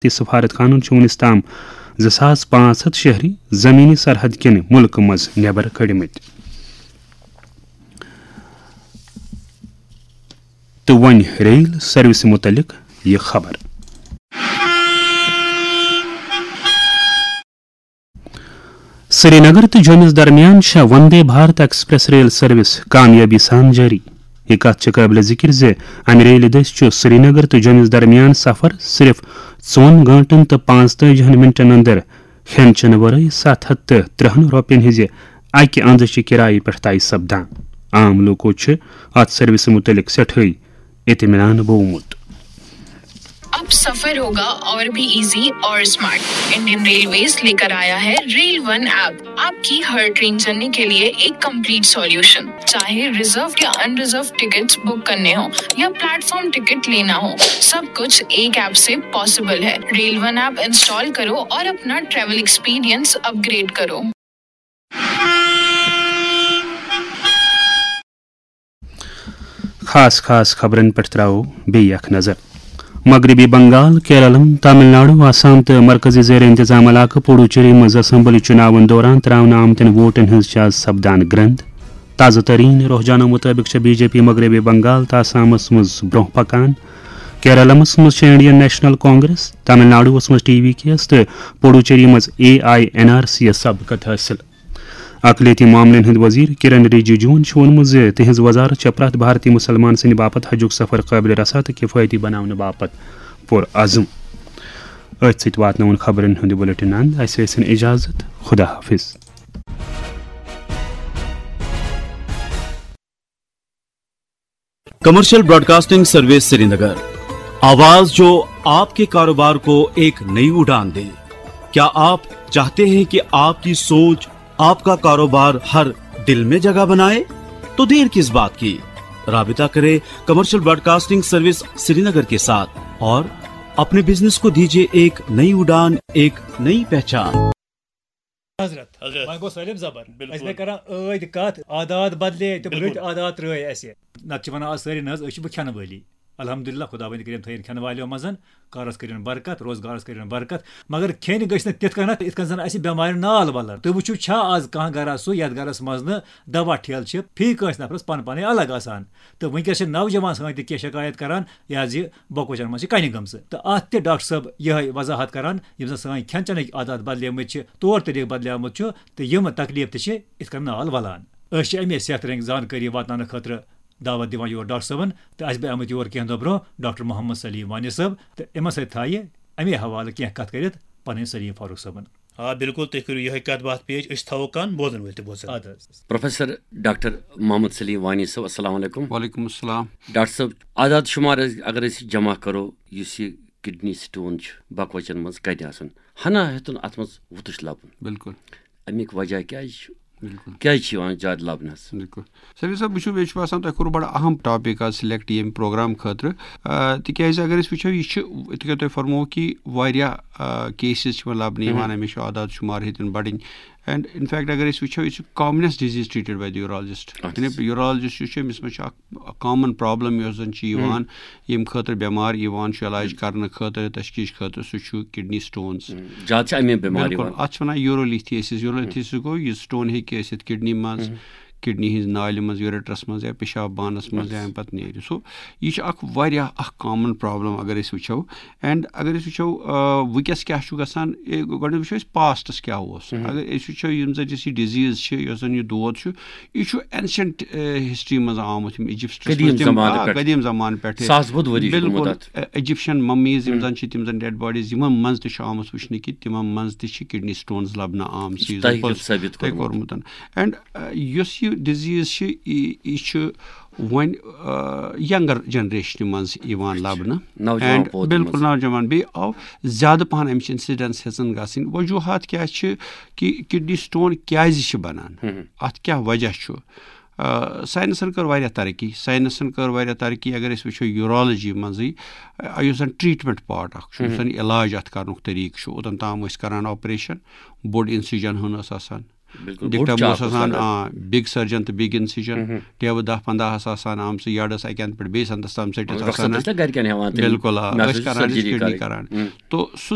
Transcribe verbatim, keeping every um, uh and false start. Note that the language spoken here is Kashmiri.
تہٕ سفارت خانن چھِ وُنِس تام زٕ ساس پانٛژھ ہَتھ شہری زمینی سرحد کِنۍ مُلکہٕ منٛز نٮ۪بر کٔڑمٕتۍ۔ تہٕ وۄنۍ ریل سروسہِ مُتعلق یہِ خبر۔ سری نگر تہٕ جوٚمِس درمیان چھےٚ Vande Bharat express rail service کامیٲبی سان جٲری۔ یہِ کتھ چھِ قٲبلِ ذِکِر زِ امہِ ریلہِ دٔسۍ چھُ سری نگر تہٕ جوٚمِس درمیان سفر صرف ژۄن گٲنٛٹن تہٕ پانٛژتٲجِہن منٹن اندر کھٮ۪ن چٮ۪نہٕ ورٲے ستھ ہتھ تہٕ ترٕٛہن رۄپین ہٕنٛزِ اکہِ اندٕچہِ کرایہِ پٮ۪ٹھ طے سپدان۔ عام لوٗکو چھِ اتھ سروسہِ مُتعلق سٮ۪ٹھٕے اطمینان بوومُت۔ अब सफर होगा और भी इजी और स्मार्ट। इंडियन रेलवेज लेकर आया है रेल वन ऐप। आपकी हर ट्रेन जर्नी के लिए एक कंप्लीट सॉल्यूशन। चाहे रिजर्व या अनरिजर्व टिकट्स बुक करने हो या प्लेटफॉर्म टिकट लेना हो, सब कुछ एक ऐप से पॉसिबल है। रेल वन ऐप इंस्टॉल करो और अपना ट्रैवल एक्सपीरियंस अपग्रेड करो। خاص خاص خبرن پٮ۪ٹھ ترٛاوو بیٚیہِ اکھ نظر۔ مغربی بنگال، کیرلم، تامل ناڈو، آسام تہٕ مرکزی زیر انتظام علاقہٕ پڈوچیری منٛز اسمبلی چُناون دوران ترٛاونہٕ آمتٮ۪ن ووٹن ہٕنٛز چھِ آز سپدان گرٛنٛد۔ تازٕ تریٖن رحجانو مُطٲبِق چھےٚ بی جے پی مغربی بنگال تہٕ آسامس منٛز برٛونٛہہ پکان۔ کیرلمس منٛز چھےٚ انڈین نیشنل کانگریس، تامل ناڈوس منٛز ٹی وی کیس تہٕ پڈوچیری منٛز A I N R C یس سبقت حٲصِل۔ اقلیتی معاملن ہٕنٛدۍ وزیر کرن رجیجوَن چھُ ووٚنمُت زِ تِہنٛز وزارت چھےٚ پرٛٮ۪تھ بھارتی مسلمان سٕنٛدِ باپتھ حجُک سفر قٲبلِ رسا تہٕ کفٲیتی بناونہٕ باپتھ پُرعزم۔ أتھۍ سۭتۍ واتناوُن خبرن ہُنٛد بُلٹن اند۔ اسہِ ٲسِن اجازت۔ خدا حافظ۔ کمرشل براڈکاسٹنگ سروس سرینگر، آواز جو آپ کے کاروبار کو ایک نئی اڑان دے۔ کیا آپ چاہتے ہیں کہ آپ کی سوچ، آپ کا کاروبار ہر دل میں جگہ بنائے؟ تو دیر کس بات کی؟ رابطہ کرے کمرشل براڈکاسٹنگ سروس سرینگر کے ساتھ اور اپنے بزنس کو دیجیے ایک نئی اڑان، ایک نئی پہچان۔ حضرت، حضرت۔ وۄنۍ گوٚو سٲلِم زبر۔ بِلکُل۔ أسۍ گٔے کران ٲدۍ کَتھ، عادات بدلے، تِم بِلکُل۔ رٕتۍ عادات ترٛٲے اَسہِ۔ نتہٕ چھِ وَنان آز سٲری نہ حظ، أسۍ چھِ وۄنۍ کھٮ۪نہٕ وٲلی۔ الحمدللہ، خۄداوندِ کٔرِن تھٲیِن کھٮ۪نہٕ والٮ۪و منٛز، کارَس کٔرِن برکت، روزگارَس کٔرِن برکت۔ مگر کھیٚنۍ گٔژھۍ نہٕ تِتھ کٔنٮ۪تھ، یِتھ کٔنۍ زَن اَسہِ بٮ۪مارِ نال وَلَن۔ تُہۍ وٕچھِو، چھا آز کانٛہہ گَرا سُہ، یَتھ گَرَس منٛز نہٕ دَوا ٹھیلہٕ چھِ، فی کٲنٛسہِ نفرَس پَنٕنۍ پَنٕنۍ الگ آسان۔ تہٕ وٕنکیٚس چھِ نوجوان سٲنۍ تہِ کینٛہہ شکایت کران، یہِ حظ یہِ بۄکوچن منٛز چھِ کنہِ گٔمژٕ۔ تہٕ اتھ تہِ ڈاکٹر صٲب یِہے وضاحت کران، یِم زن سٲنۍ کھٮ۪ن چٮ۪نٕکۍ عادات بدلیمٕتۍ چھِ، طور طریٖقہٕ بدلیومُت چھُ، تہٕ یِم تکلیف تہِ چھِ یِتھ کٔنۍ نال ولان۔ أسۍ چھِ امے صحت رنگۍ زانکٲری واتناونہٕ خٲطرٕ دعوت دِوان یور ڈاکٹر صٲبن، تہٕ اسہِ بہٕ آمٕتۍ یور کینٛہہ دۄہ برونٛہہ ڈاکٹر محمد سلیم وانی صٲب، تہٕ یِمن سۭتۍ تھایہِ امے حوالہٕ کینٛہہ کتھ کٔرِتھ پنٕنۍ سلیم فاروق صٲبن۔ آ، بِلکُل، تُہۍ کٔرِو یِہوٚے کَتھ باتھ پیش، أسۍ تھاوو کَن بوزَن وٲلۍ تہِ بوزَن۔ اَدٕ حظ۔ پروفیسر ڈاکٹر محمد سلیم وانی صٲب، السلام علیکم۔ وعلیکم السلام۔ ڈاکٹر صٲب، اعداد شُمار اگر أسۍ جمع کَرو، یُس یہِ کِڈنی سٹون چھُ بَکوچَن منٛز کَتہِ آسان، ہنا ہیوٚتُن اَتھ منٛز وُتُش لَبُن۔ بِلکُل۔ اَمیُک وجہ کیٛازِ چھُ؟ بِلکُل۔ کیٛازِ چھُ یِوان زیادٕ لَبنہٕ حظ؟ بِلکُل۔ سلیم صٲب، وٕچھِو، مےٚ چھُ باسان، تۄہہِ کوٚروٕ بَڑٕ اَہَم ٹاپِک آز سِلٮ۪کٹ ییٚمہِ پروگرام خٲطرٕ۔ آ، تِکیٛازِ اگر أسۍ وٕچھو، یہِ چھِ، یِتھ کٔنۍ تۄہہِ فرموو کہِ واریاہ، آ، کیسِز چھِ وۄنۍ لَبنہٕ یِوان، اَمِچ چھُ اعداد شُمار ہیٚتِن بَڑٕنۍ۔ اینڈ اِن فیکٹ اگر أسۍ وٕچھو، یہِ چھُ کامنٮ۪سٹ ڈِزیٖز ٹرٛیٖٹڈ باے دی یوٗرالجسٹ۔ اچھا۔ یعنی یوٗرالجسٹ یُس چھُ، أمِس منٛز چھُ اَکھ کامن پرابلم یۄس زَن چھِ یِوان، ییٚمہِ خٲطرٕ بٮ۪مار یِوان چھُ علاج کرنہٕ خٲطرٕ، تشخیٖص خٲطرٕ، سُہ چھُ کِڈنی سٹونز۔ زیادٕ چھِ اَمے بٮ۪مارِ بِلکُل۔ یِوان۔ اَتھ چھِ وَنان یوٗرولیتھیسِس۔ یوٗرولیتھیسِس گوٚو یہِ سٹون ہیٚکہِ ٲسِتھ کِڈنی منٛز، کِڈنی ہٕنٛز نالہِ منٛز، یوٗریٹرس منٛز یا پیشاب بانس منٛز یا اَمہِ پتہٕ نیرِ۔ سُہ، یہِ چھُ اکھ واریاہ اکھ کامن پرابلم اگر أسۍ وٕچھو۔ اینڈ اگر أسۍ وٕچھو، آ، وٕنکیٚس کیٛاہ چھُ گژھان، اے، گۄڈٕنیتھ وٕچھو أسۍ پاسٹس کیٛاہ اوس۔ اگر أسۍ وٕچھو یِم زن یُس یہِ ڈِزیٖز چھِ، یۄس زن یہِ دود چھُ، یہِ چھُ ancient، آ، ہسٹری منٛز آمُت، یِم Egyptس قدیٖم منٛز تِم، زمانہٕ آ، پٮ۪ٹھ۔ قدیٖم زمانہٕ پٮ۪ٹھٕ۔ ساس بُد ؤری چھُ گوٚمُت بِلکُل۔ اَتھ۔ اَ، Egyptian mummies یِم زَن چھِ، تِم زَن dead bodies یِمَن منٛز تہِ چھُ آمُت وٕچھنہٕ کہِ تِمَن منٛز تہِ چھِ kidney stones لَبنہٕ آمژٕ، یُس زَن تۄہہِ کیٛاہ پوٚز-، ثٲبِت تۄہہِ کوٚرمُت۔ کوٚرمُت۔ And، اَ، یۄس یہِ disease چھِ، یہِ، یہِ چھُ وۄنۍ، اَ، younger generationہِ منٛز یِوان لَبنہٕ۔ نوجوان And پوٗتہِ بِلکُل منٛز۔ نوجوان۔ بیٚیہِ آو زیادٕ پَہَن اَمِچ incidence ہیٚژٕن گژھٕنۍ۔ وجوٗہات کیٛاہ چھِ کہِ kidney stone کیٛازِ چھِ بَنان؟ ہُم۔ اَتھ کیٛاہ وجہ چھُ؟ آ، ساینسن کٔر واریاہ ترقی، ساینسن کٔر واریاہ ترقی۔ اگر أسۍ وٕچھو یوٗرالجی منٛزٕے، آ، یُس زن treatment part اکھ چھُ، یُس زن علاج اتھ کرنُک طریٖقہٕ چھُ، اوٚتن تام ٲسۍ کران operation، بوٚڑ incision ہن ٲس آسان، بِلکُل، بوٚڑ ڈِکٹم چاپ اوس آسان اَتھ۔ آ بِگ سٔرجن تہٕ بِگ اِنسِجن، ٹیبہٕ دَہ پنٛداہ آسہٕ آسان آمژٕ، یڈس اَکہِ اَندٕ پٮ۪ٹھ بیٚیِس اَندس تام ژٔٹِتھ وقتاً آسان۔ ٲسۍ نہ گرِکٮ۪ن ہٮ۪وان تِم بِلکُل آ، أسۍ نَسَن کران ٲسۍ سرجری کِڈنی کَرٕنۍ۔ کران۔ تو سُہ